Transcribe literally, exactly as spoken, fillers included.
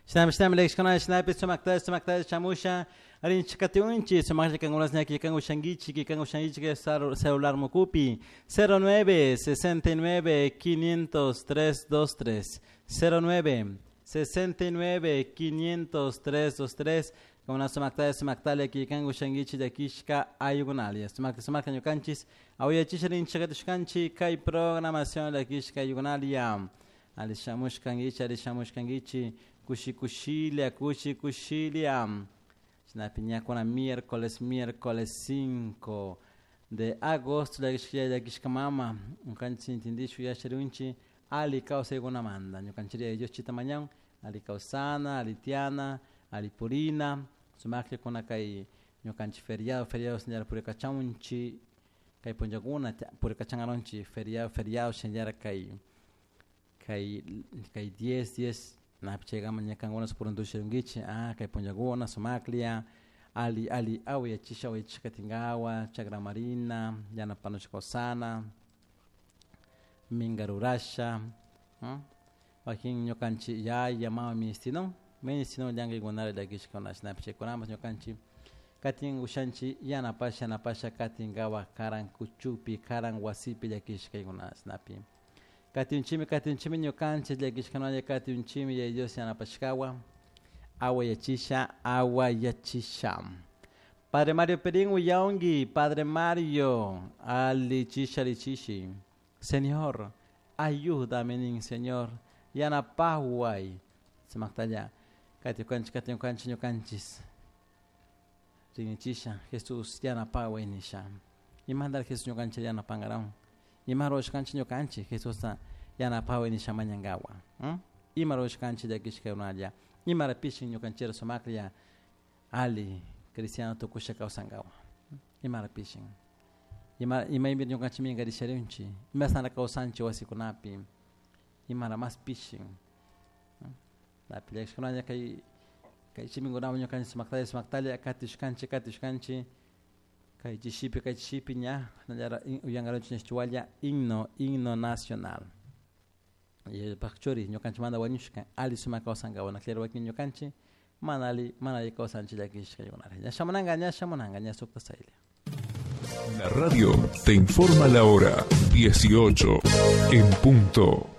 Shinami shinami llakishkuna shinapi sumakta sumakta shamusha rinchikatiunchi sumaklla kankunas ñaki kan ushankichik kan ushankichik celular mukupi cero nueve sesenta y nueve quinientos tres dos tres cero nueve sesenta y nueve quinientos tres dos tres kuna sumakta sumaktalla kan ushankichik llakishka ayukunalia sumakta sumakta ñukanchis awayachisha rinchikatishkanchik kay programación llakishka ayukunalia alishamushkankichik alishamushkankichik kushi kushilla kushi kushilla shinapi ñakuna miércoles miércoles cinco de agosto llakishka llakishka mama ñukanchik intindishun yacharunchik ali kawsaykunamanta ñukanchik Dios chita mañan ali kawsana ali tiana ali purina sumaklla kuna kay ñukanchik feriado feriado señora purikachawunchik kay punllakuna purikachankarunchik feriado feriado señora kay kay kay diez diez napi chaykama ña kankuna puruntushirunkichik ah kay punllakuna sumaklla ali ali awayachisha awayachisha katinkawa chakramarina yanapanushka kawsana minka rurasha wakin ñukanchik yaya mama ministinun ministinun llankaykunara llakishkuna shinapish chaykunamas ñukanchik katin ushanchik yanapasha yanapasha katinkawa karan kuchupi karan wasipi llakishkaykuna shinapi katinchimi katinchimi ñukanchik llakishkanalla katinchimi yaya Dios yanapashkawa awayachisha awayachisha Padre Mario Perín uyaungi Padre Mario alichisha alichishi Señor ayúdame nin Señor yanapaway sumaktalla katiukanchik katiukanchik ñukanchis rinichisha Jesús yanapaway nisha imandar Jesús ñukanchik yanapankaraun ima ruwashkanchik ñukanchik Jesusta yanapaway nisha mañankawa ima ruwashkanchik llakishkakunalla imara pishin ñukanchikra sumaklla ali cristiano tukusha kawsankawa imara pishin ima imaypi ñukanchik minkarisharunchik imasnara kawsanchik wasikunapi imara mas pishin napi llakishkunalla kay kay chiminkunawan ñukanchik sumaktalla sumaktalla katishkanchik katishkanchik kay chishipi kay chishipi ña nallara uyankaranchik ñashchiwalla himno himno nacional paq churi ñukanchikmanta wañushka ali sumak kawsankawa claro wakin ñukanchik mana ali mana alli kawsanchik llakishkaykunara ña shamunanka ña shamunanka ña sukta saylla. La radio te informa la hora dieciocho en punto.